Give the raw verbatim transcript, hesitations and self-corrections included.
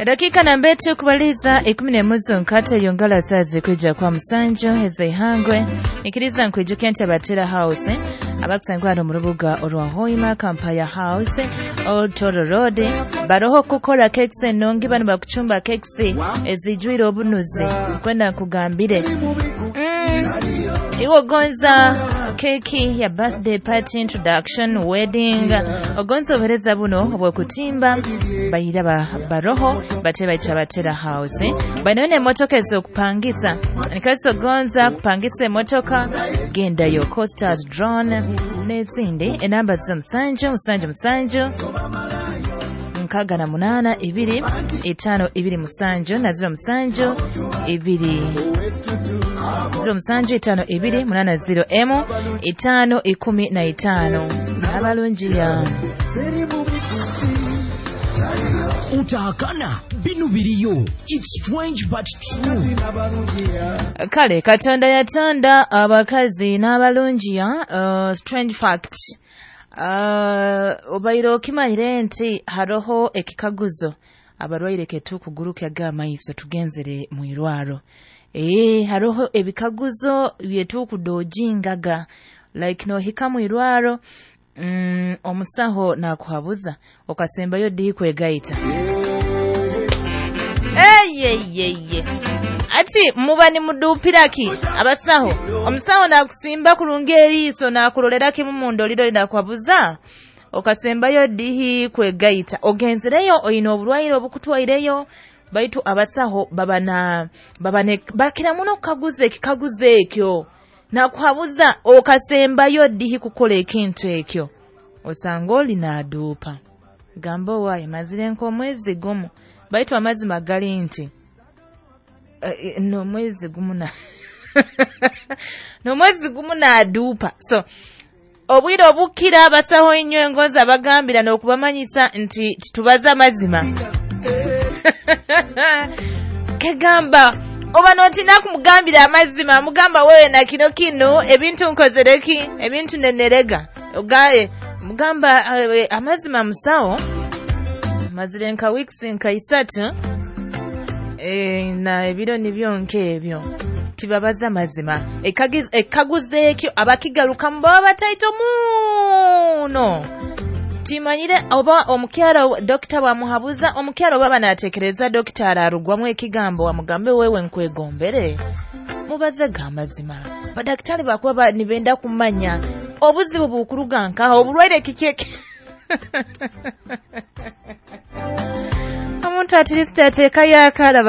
Edakika nambete kubaliza ikumi n'emuzu nkate yongala sazi kwija kwa musanju ezeihangwe ikiriza nkwijukia nti abatera house abakusangwa hano mu rubuga orwa Hoima Kampaya House Old Toro Road baroho kukora cakes enongi bano bakuchumba cakes ezijwire obunuzi kwenda nkugambire mm, iwe ogonza keki ya birthday party, introduction, wedding, ogonza obuhereza buno obw'okutimba bayira ba, baroho bate baita batera house bainayo n'emmotoka ez'okupangisa nikasi ogonza kupangisa emmotoka gendayo Costas drone n'ezindi enamba zo musanju musanju musanju nkaga na munana ibiri itano ibiri musanju na zero musanju ibiri zero musanju itano ibiri munana zero emu itano ikumi na itano abalungi ya Utahakana binu biriyo. It's strange but true. Kale Katonda yatonda abakazi n'abalungiya. uh, strange fact, uh, obaire okimanyire nti haroho ekikaguzo abarwaire ketukugurukyaga amaiso tugenzere mu irwaro. Ee, haroho ebikaguzo byetukudojingaga like nohika mu irwaro, mm, omusaho nakuhabuza okasembayo ddi kwegaita. Eyeyeye ati muba nimudupiraki abasaho, omusaho nakusimba kurungi eriiso nakurolera kimu mundoliro nakuhabuza okasembayo ddihi kwegaita, ogenzereyo oyina oburwaire obukutwaireyo. Baitu abasaho baba na baba ne bakira muno kukaguza ekikaguzo ekyo nakuhabuza okasembayo ddihi kukola ekintu ekyo, osanga oli naduupa gamba owaaye mazire nk'omwezi gumu. Baitu amazima gali nti uh, n'omwezi gumu na n'omwezi gumu naduupa. So obwire obukira abasaho inywe engonzi abagambira n'okubamanyisa nti titubaza amazima. Kegamba oba notina kumugambira amazima, mugamba wewe na kino kino ebintu nkozereki ebintu nenerega ogaye mugamba uh, amazima musawo mazire nka weeks nka isatu e, na ebiro nibyo nk'ebyo tibabaza mazima. Ekaguzo ekyo abakigarukamu baba bataito muno. Timanyire oba omukyala dokita bwamuhabuza omukyala oba banatekereza dokita ararugwamu ekigambo wamugambe wewe nkwegombere mubaze ga mazima. Badaktari bakuba nibenda kumanya obuzibu bukuruga nkaho obulwaire kikeke. Omuntu at least ateekayo akalaba.